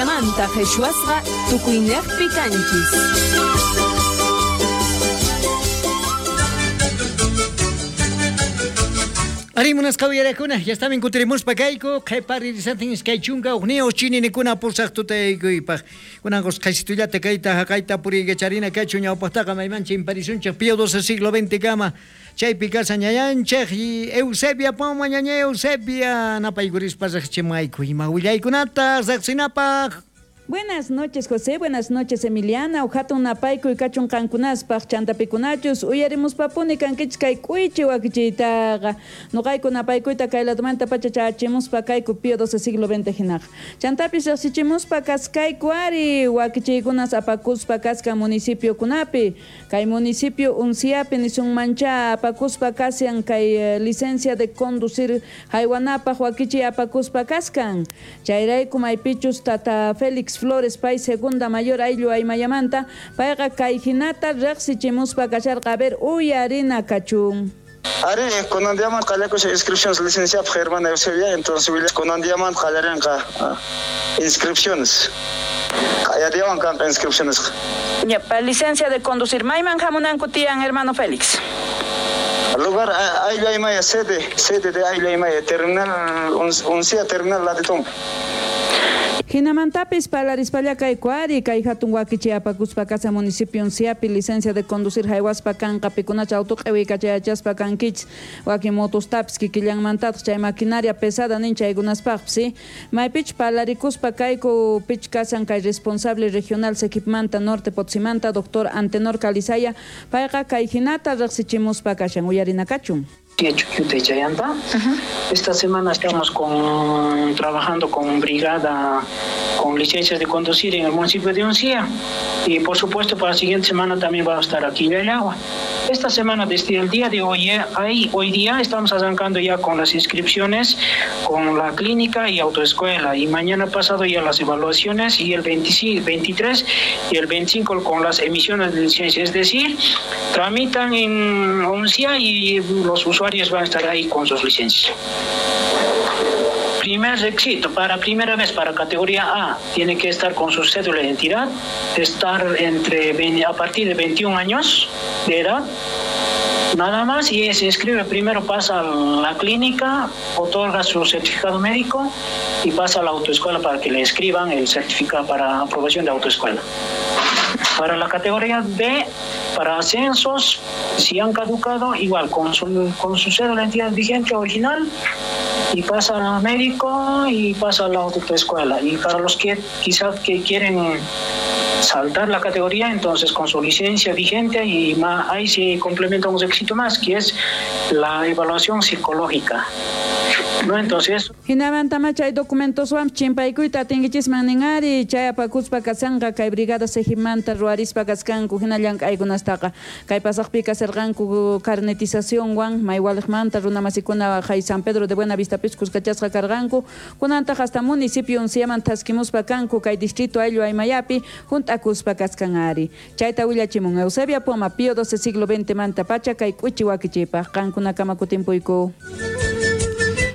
Ajinamanta qhichwasqa tukuyniqpi kanchis. Ari munasqa uyarakuna, ya estaban kutirimuspa kayku, qhipa ririsantin iskay chunka hukniyuq chininikuna pusaq tutaykuypaq. Kunan qusqaysitullata kayta haqayta puriykacharina kachu ñawpaqtaqa mayman chimparisunchik Pío XII siglo XX kama. Chaypi kashan ñañanchik y Eusebia Poma ñaña Eusebia napaykurispa riqchimayku ima willaykunata riqsinapaq. Buenas noches, José. Buenas noches, Emiliana. Uhatun napaykuy kachun qankunaspaq chantapikunachus uyarimuspapuni kankichis kay k'uychi wakichiytaqa. Nuqayku napaykuyta kay ladumanta pacha chachimuspa kayku Pío XII siglo XX hinaqa. Chantapis riqsichimuspa kaskayku ari wakichiykunas apakuspa kaskan municipiokunapi. Kay municipio Unciapi nisunmancha apakuspa kashan kay licencia de conducir haywanapaq wakichiy apakuspa kaskan. Chayrayku maypichus tata Félix Flores pay segunda mayor ayllu aymayamanta payqa kay hinata riqsichimuspa kasharqa a ver uyarina kachun. Ari, kunan diaman qallakushan inscripciones licenciapaq hermana Eusebia, entonces kunan diaman qallarinqa inscripciones. Qaya diawan kanqa inscripciones. Ya, pa licencia de conducir mayman hamunanku tiyan hermano Félix. Lugar Ayllu Aymaya sede de Ayllu Aymaya terminal Uncia terminal Latitumpa. Hinamantapis parlarispalla kayku ari kay hatun wakichi apakuspa kasa municipio Unciapi licencia de conducir haywaspa kanqa pikunacha auto q'iwiykachayachaspa kankichis wakin motostapis kikillanmantataq chay maquinaria pesada nin chaykunaspaqpis maypich parlarikuspa kayku pich kasan kay responsable regional Sequipmanta Norte Potsimanta doctor Antenor Calizaya payqa kay hinata riqsichimuspa kashan uyarina kachun. Esta semana estamos trabajando con brigada con licencias de conducir en el municipio de Uncía y por supuesto para la siguiente semana también va a estar aquí en el agua. Esta semana desde el día de hoy, hoy día estamos arrancando ya con las inscripciones con la clínica y autoescuela y mañana pasado ya las evaluaciones y el 23 y el 25 con las emisiones de licencia, es decir, tramitan en Uncía y los usuarios van a estar ahí con sus licencias. Primer requisito, para primera vez para categoría A, tiene que estar con su cédula de identidad, estar a partir de 21 años de edad, nada más, y se inscribe primero, pasa a la clínica, otorga su certificado médico y pasa a la autoescuela para que le escriban el certificado para aprobación de autoescuela. Para la categoría B, para ascensos, si han caducado, igual, con su cédula de identidad vigente original, y pasa al médico y pasa a la autoescuela. Y para los que quizás que quieren saltar la categoría, entonces con su licencia vigente y más, ahí se complementa un requisito más, que es la evaluación psicológica. No, entonces hinamantama chay documentoswan chimpaykuyta atinkichisman nin ari chay apakuspa kasanqa kay brigada Sejimanta ruwarispa kaskanku hina llank'aykunastaqa kay pasaqpi kasarqanku carnetizacionwan maywaliqmanta runamasikuna hay San Pedro de Buenavistapis kuskachasqa karqanku kunantaq hasta municipio Unciaman thaskimuspa kanku kay distrito Ayllu Aymayapi hunt'akuspa kaskan ari chayta willachimun Eusebia Poma Pío XII siglo XX manta pacha kay k'uchi wakichipaq qankunakama kutimpuyku.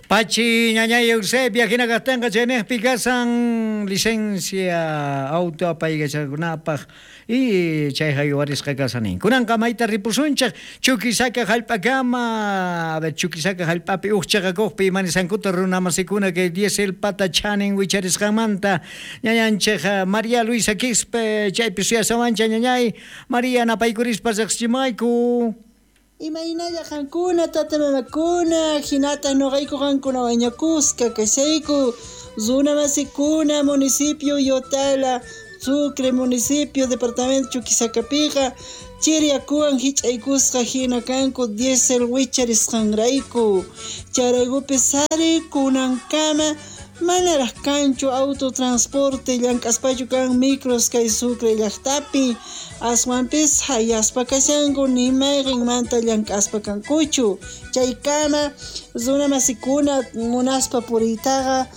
Pachi ñañay Eusebia hinakaqtinqa chaynejpi kasan licencia auto apaykacharkunapaq y chayqa yuwarisqa kasanin. Kunanqa mayta ripusunchik Chuquisaca hallp'akama, a ver Chuquisaca hallp'api uq chaqakuqpi imanisankuta runamasikuna kay diesel pata chanin wicharisqanmanta ñañanchik María Luisa Quispe chaypi suyasawancha ñañay María napaykurispa riqsichimayku. Imaynalla qankuna tata mamakuna hinata nuqayku qankuna wañakusqa kashayku runa masikuna municipio Yotala Sucre municipio departamento Chuquisacapiqa chiriyakuwan hich'aykusqa hina kanku diesel wicharisqanrayku chayraykupi sari kunankama manaraq kanchu autotransporte llank'aspachu kan micros kay Sucre llaqtapi aswanpis hayaspa kashanku ni mayqinmanta llank'aspa kankuchu chaykama runa masikuna munaspa puriytaqa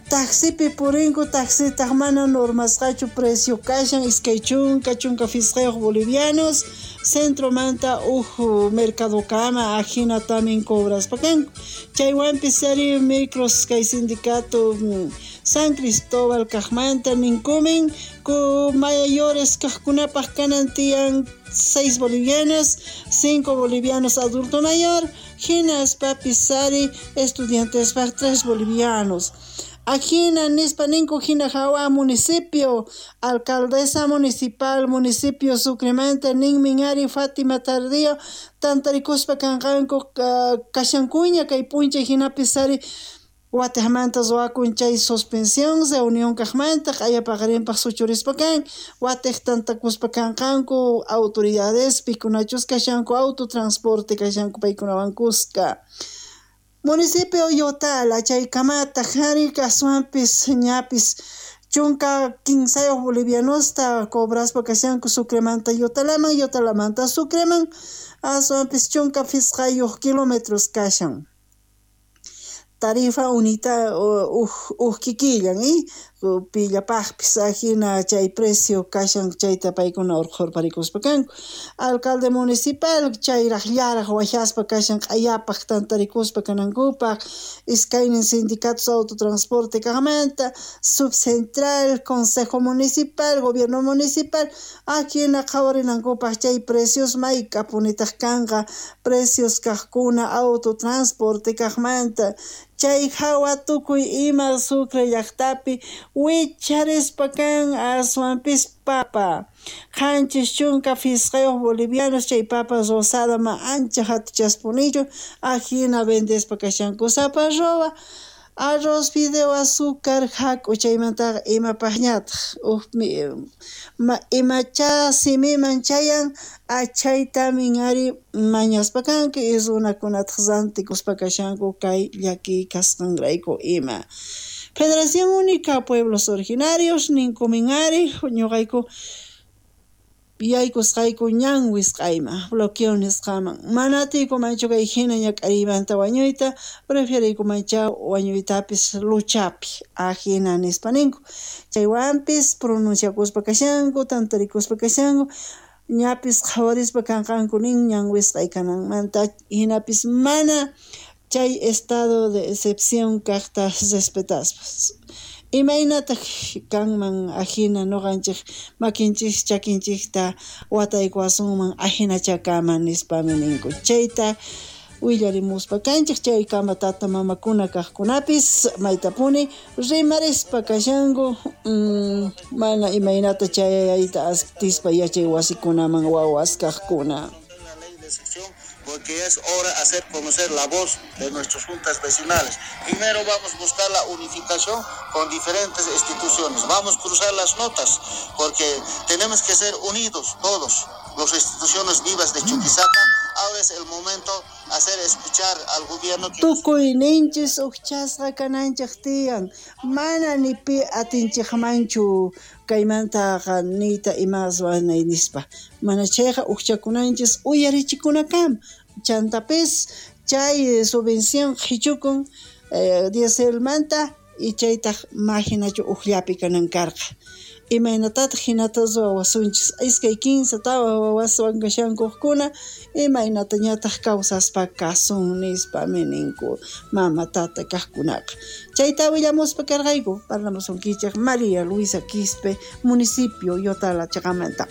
Taxipi purinku, taxitaq mana normasqachu precio kashan 20 15 bolivianos, centromanta uj mercadokama ajina tamin cobraspa kanku. Chaywanpis ari micros kay sindicato San Cristóbal kajmanta ninkumin ku mayores kajkunapaj kanan tiyan 6 bolivianos, 5 bolivianos adulto mayor, hinaspapis ari estudiantespaj 3 bolivianos. Ajina nispa ninku hina jawa municipio, alcaldesa municipal, municipio Sucremanta ninmin ari Fátima Tardío, tantarikuspa kanqanku kashankuña kay p'unchay hinapis ari watejmanta ruwakun chay suspensión reunión kajmanta q'ayapaqarinpaj suchurispa kan, watej tantakuspa kanqanku autoridades pikunachus kashanku autotransporte kashanku paykunawan kuska. Municipio Yotala chaykamataq ari aswanpis ñapis 15 bolivianosta cobraspa kashanku Sucremanta Yotalaman, Yotalamanta Sucreman, aswanpis 15 kilómetros kashan. Tarifa unita uj kikillan pillapajpis ajina chay precio kashan chayta paykuna urqhurparikuspa kanku. Alcalde municipal chayraj llaraj wajaspa kashan q'ayapaj tantarikuspa kanankupaj, iskaynin sindicatos autotransporte kajmanta, subcentral, consejo municipal, gobierno municipal, ajina qhawarinankupaj chay precios mayk'apunitaj kanqa precios kajkuna autotransporte kajmanta. Chay hawa tukuy ima Sucre llaqtapi wicharispa kan aswanpis papa. 75 bolivianos chay papa rosada ma ancha hatuchaspunichu ajina vendespa kashanku sapa roba. Arroz, fideo, azúcar, hak'u chaymantaqa imapaqñataq imacha simiman chayan achaytamin ari mañaspa kanku y runakunataq rantikuspa kashanku kay llakiy kasqanrayku ima. Federación Única Pueblos Originarios ninkumin ari ñuqayku yaykusqayku ñan wisq'ayman bloqueo nisqaman mana atiykumanchu kay hina ñak'ariymanta wañuyta preferiykumancha wañuytapis luchapi ajina nispa ninku. Chaywanpis pronunciakuspa kashanku tantarikuspa kashanku ñapis qhawarispa kanqanku nin ñan wisq'ay kananmanta hinapis mana chay estado de excepción kaqta respetaspa. Imaynataq kanman ajina ñuqanchik makinchik chakinchikta wataykuwasunman ajinachakaman nispami ninku. Chayta willarimuspa kanchik chaykama tata mamakuna kaqkunapis maytapuni rimarispa kashanku mana imaynata chayayta atispa yachay wasikunaman wawas kaqkuna. Porque es hora de hacer conocer la voz de nuestras juntas vecinales. Primero vamos a buscar la unificación con diferentes instituciones. Vamos a cruzar las notas, porque tenemos que ser unidos todos, las instituciones vivas de Chuquisaca. Ahora es el momento de hacer escuchar al gobierno. Tukuyninchis ujchasqa kananchik tiyan, mana ni pi atinchikmanchu kaymantaqa niyta imaswan nispa. Mana chayqa ujchakunanchis uyarichikunakama. Chantapis chay subvención qhichukun dieselmanta y chaytaq majinachu ujllapi kanan karqa. Imaynatataq hinata ruwawasunchis 2, 3 4 wawaswan kashankuqkuna imaynatañataq kawsaspa kasun nispami ninku mama tata kaqkunaqa. Chayta willamuspa karqayku parlamusunkichik María Luisa Quispe, municipio Yotala chaqamanta.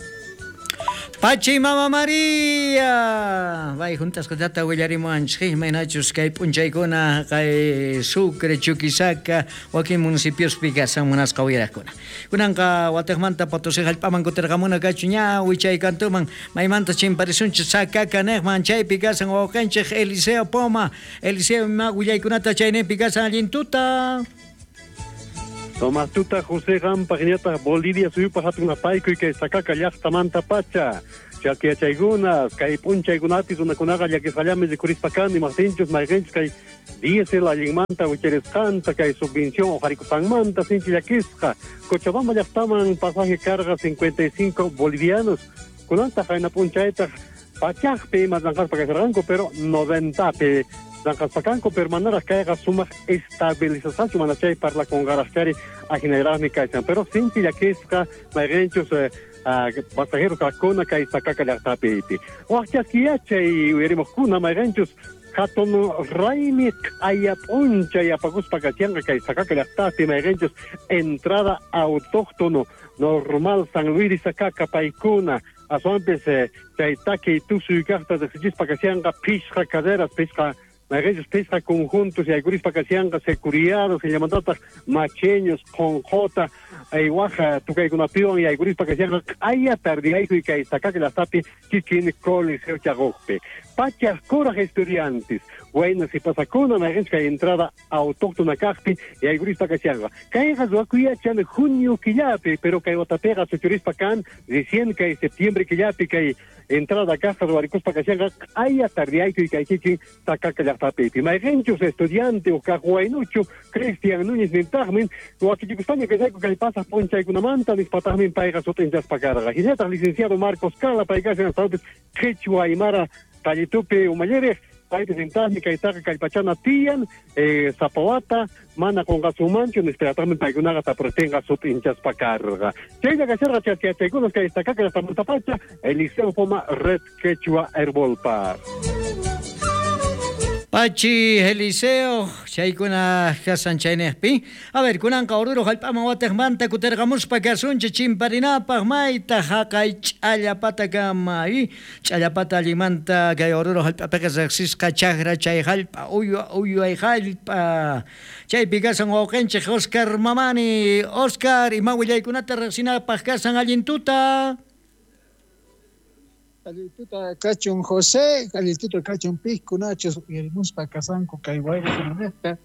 Pachi Mama María, bay juntasqatata willarimuwanchik imaynachus kay p'unchaykuna kay Sucre, Chuquisaca, wakin municipiospi kasan munasqa uyaraqkuna. Kunanqa watejmanta Potosí hallp'aman kutirqamuna kachu ña wichay kantuman maymanta chimparisunchik Sacaca niqman chaypi kasan wawqinchik Eliseo Poma. Eliseo ima willaykunata chayninpi kasan allin tuta. Tomás tuta José Gampa hinataq Bolivia suyupaq hatun apaykuy kay Sacaca llaqtamanta pacha. Chakyachaykunas kay p'unchaykunapis runakunaqa llakisqallami rikurispa kani maqtinchus mayqinchus kay diesel allinmanta wicharisqanta kay subvención uqharikusqanmanta sinchi llakisqa. Cochabamba llaqtaman pasaje carga 55 bolivianos. Kunantaq qayna p'unchaytaq pachaqpi ima llanqaspa kasharqanku pero 90pi Llanqaspakanku, pero manaraq kayqa sumaq estabilizasqachu, mana chay parlakunqaraqchari ajinayraqmi kashan. Pero sinchi llakisqa mayqinchus pasajeros kaqkuna kay Sacaca llaqtapi. Wak chaskiyachay uyarimuqkuna mayqinchus hatun raymi q'aya p'unchay apakuspa kashanqa kay Sacaca llaqtapi mayqinchus entrada autóctono normal San Luis de Sacaca paykuna aswanpis chay takiy tusuy kaqta riqsichispa kashanqa phishqa carreras, phishqa mayqinchus phishqa conjuntos yaykurispa kashanqa securiados hillamantataq macheños qhonqota waja tukaykunapiwan yaykurispa kashanqa q'aya tardiyaykuy kay Sacaca llaqtapi kikin Coliseo chaquqpi. Pachaq kuraq estudiantes wayna sipasakuna mayqinchus kay entrada autóctona kaqpi yaykurispa kashanqa. Kayqa ruwakuyachan junio killapi, pero kay watapiqa suchurispa kan recién kay septiembre killapi kay entrada kaqta ruwarikuspa kashanqa q'aya tardiyaykuy kay kikin Sacaca llaqtapi. Mayqinchus estudiante o kaq waynuchu Cristian Núñez nintaqmin wakichikuspaña kashayku kay pasaq p'unchaykunamanta nispataqmin payqa sut'inchaspa karqa. Hinallataq licenciado Marcos Cala pay kashan astawanpis Qhichwa Aymara tallitupi umalliriq paypis nintaqmi kaytaqa kallpachana tiyan sapawata mana qunqasunmanchu nispataqmi paykunaqa tapuriptinqa sut'inchaspa karqa. Chaylla kasharqa chaskiyachaykunas kay Sacaca llaqtamantapacha Eliseo Poma Red Quechua Herbolpa. Pachi Eliseo, chaykuna kasan chayniqpi. A ver, kunanqa Oruro hallp'aman watiqmanta kutirqamuspa kasunchik chimparinapaq mayta haqay ch'allapatakama. Ch'allapata allinmanta kay Oruro hallp'apiqa riqsisqa chakra chay hallp'a uyway hallp'a. Chaypi kasan wawqinchik Oscar Mamani. Oscar, ima willaykunata riqsinapaq kasan allin tuta. Allituta kachun José, allituta kachun pijkunachus uyarimuspa kasanku kay wayrakunanejta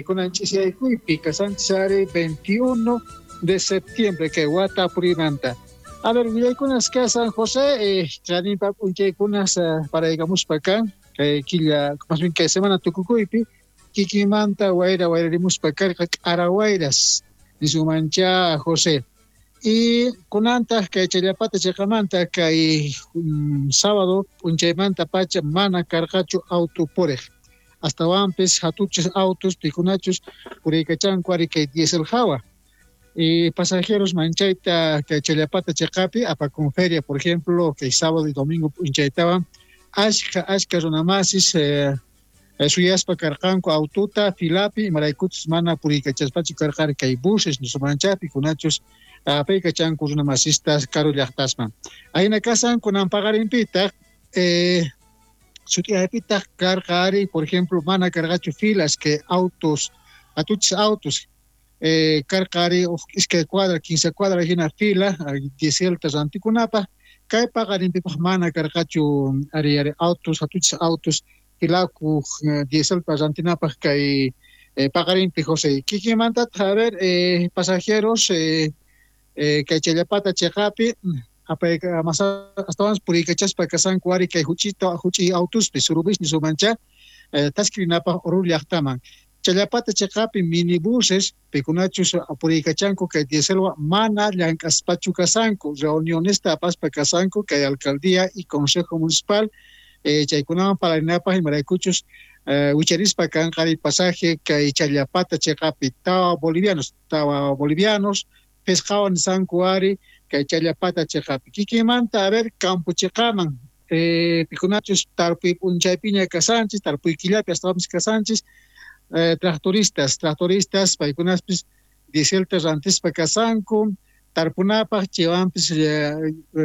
kunan ch'isiyaykuypi kasanchis ari 21 de septiembre kay wata purimanta. A ver, willaykunas kasan José, chaninpa p'unchaykunas paraykamuspa kan kay killa, más bien kay semana tukukuypi kikimanta wayra wayrarimuspa karqa k'ara wayras nisumancha José. Y kunantaq kay Challapata chiqamanta kay sábado p'unchaymanta pacha mana karqachu auto puriq. Astawanpis hatuchis autos pikunachus puriykachanku ari kay diesel hawa. Y pasajeros manchayta kay Challapata chiqapi apakun feria, por ejemplo, kay sábado y domingo p'unchaytawan ashka runamasis suyaspa karqanku aututa filapi imaraykuchus mana puriykachaspachu karqari kay buses nisumancha pikunachus apaykachanku runamasistas karu llaqtasman. Ahina kasan kunan paqarinpitaq sut'iyaypitaq karqa ari, por ejemplo, mana karqachu filas que autos, atuchis autos karqa ari iskay cuadra, 15 cuadra hina fila dieselta rantikunapaq, kay paqarinpipaq mana karqachu ari autos, atuchis autos filakuq dieselta rantinapaq kay paqarinpi José. Kikinmantataq, a ver, pasajeros kay Challapata chiqapi astawanpas puriykachaspa kasanku ari kay huch'i autuspi surubis nisumancha taskirinapaq Oruro llaqtaman. Challapata chiqapi minibuses pikunachus puriykachanku kay dieselwa mana llank'aspachu kasanku, reunionesta apaspa kasanku kay alcaldía y consejo municipal chaykunawan parlarinapaq imaraykuchus wicharispa kanqa ari pasaje kay Challapata chiqapi tawa bolivianos pesqawan nisanku ari kay Challapata chiqapi. Kikimanta, a ver, campo chiqaman pikunachus tarpuy p'unchaypiña kasanchis, tarpuy killapi astawanpis kasanchis, tractoristas paykunaspis dieselta rantispa kasanku tarpunapaq chaywanpis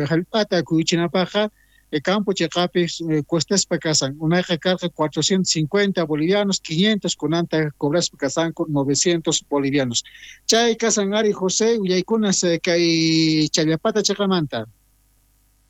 hallp'ata kuyuchinapaqqa campo chiqapi cuestaspa kasan. Unayqa karqa 450 bolivianos, 500 kunanta cobraspa kasanku 900 bolivianos. Chay kasan ari José willaykunas kay Challapata chiqamanta.